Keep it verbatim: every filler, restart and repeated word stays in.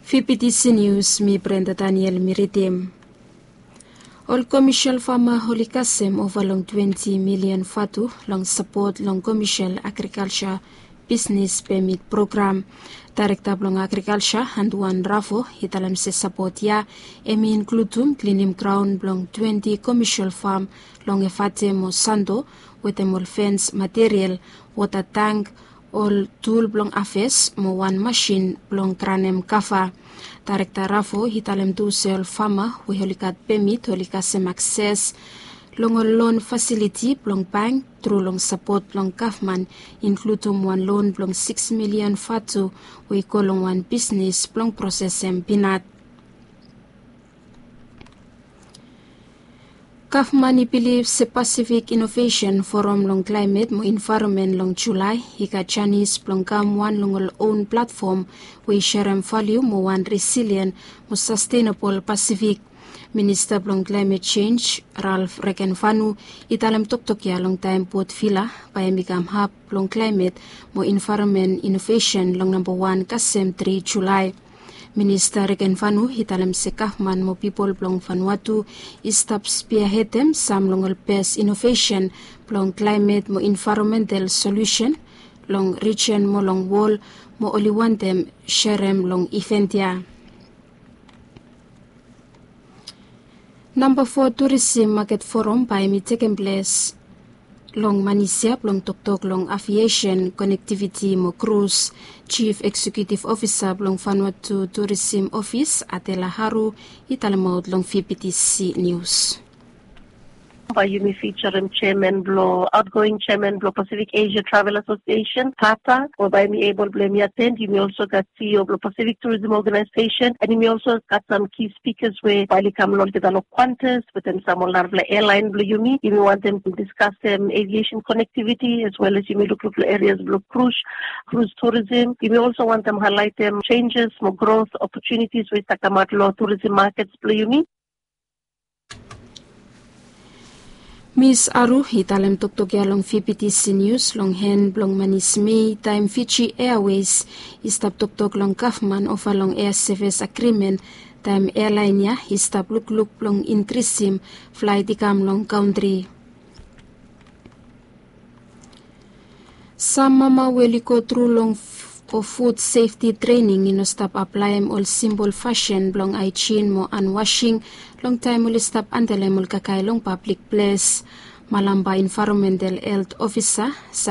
Fifty News, mi Brenda Daniel mi ridim. Ol komesial fama oli kasem ova long twenti milian vatu long sapot long komesial agrikalsa bisnes pemit program. Daerekta blong agrikalsa Anduan Rafo i talem se sapot ya em i inkludum klinim graon blong twenti komesial fam long Efate mo Santo wetem ol fens material, wota tang, ol tul blong aves mo wan masin blong granem kava. Daerekta Rafo i talem tu se ol fama we oli gat pemit oli kasem akses long ol lon fasiliti blong bank tru long sapot blong gavman, inkludum wan lon blong sikis milian vatu we i go long wan bisnes blong prosesem pinat. Gavman i bilif se Pasifik Inovesen Foram long Klaemet mo Envaeronmen long Julae i gat janis blong kam wan long ol own platfom we i serem valiu mo wan resilien mo sastenabol Pasifik. Minista blong Klaemet Jenj, Ralf Regenvanu, i talem toktok ya long taem Port Vila bae hem i kam hab blong klaemet mo envaeronmen inovesen long namba wan kasem tri Julae. Minista Regenvanu i talem se gavman mo pipol blong Vanuatu i stap spiahedem sam long ol bes inovesen blong klaemet mo envaeronmental solusen long rijen mo long wol, mo oli wantem serem long iven ya. Namba fo Turisim Maket Foram bae hem i tekem ples long Manisia blong toktok long aviesen, konektiviti mo krus. Jif Eksekutif Ofisa blong Vanuatu Turisim Ofis, Adela Haru, i talemaot long Fifty Nius. Bae yumi fijarem jeaman blong, aotgoing jeaman blong Pasifik Esia Travel Asosiesen, pata, we bae hem i ebol blong hem i aten. Yumi olso gat CEO blong Pasifik Turism Oganaesesen, and yumi olso gat sam ki spikas we bae oli kam long olgeta long Qantas wetem sam ol narafala ealaen blong yumi. Yumi wantem diskasem aviesen konektiviti as well as yumi lukluk long erias blong krus, krus turisim. Yumi olso wantem haelaetem jenjes mo grot opotunitis we i stap kamaot long turisim makets blong yumi. Mis Aru i talem toktok ya long Fifty Nius long hen blong manis Mei taem Fiji Airways i stap toktok long gavman ova long ea sevis agrimen, taem ealaen ya i stap lukluk blong inkrisim flaet i kam long kantri. Sam mama we oli go tru long fud sefti trening i no stap aplaem ol simpol fasin blong aejin mo anwasing long taem oli stap andelem ol kakae long pablik ples. Malamba Envaeronmental Helt Ofisa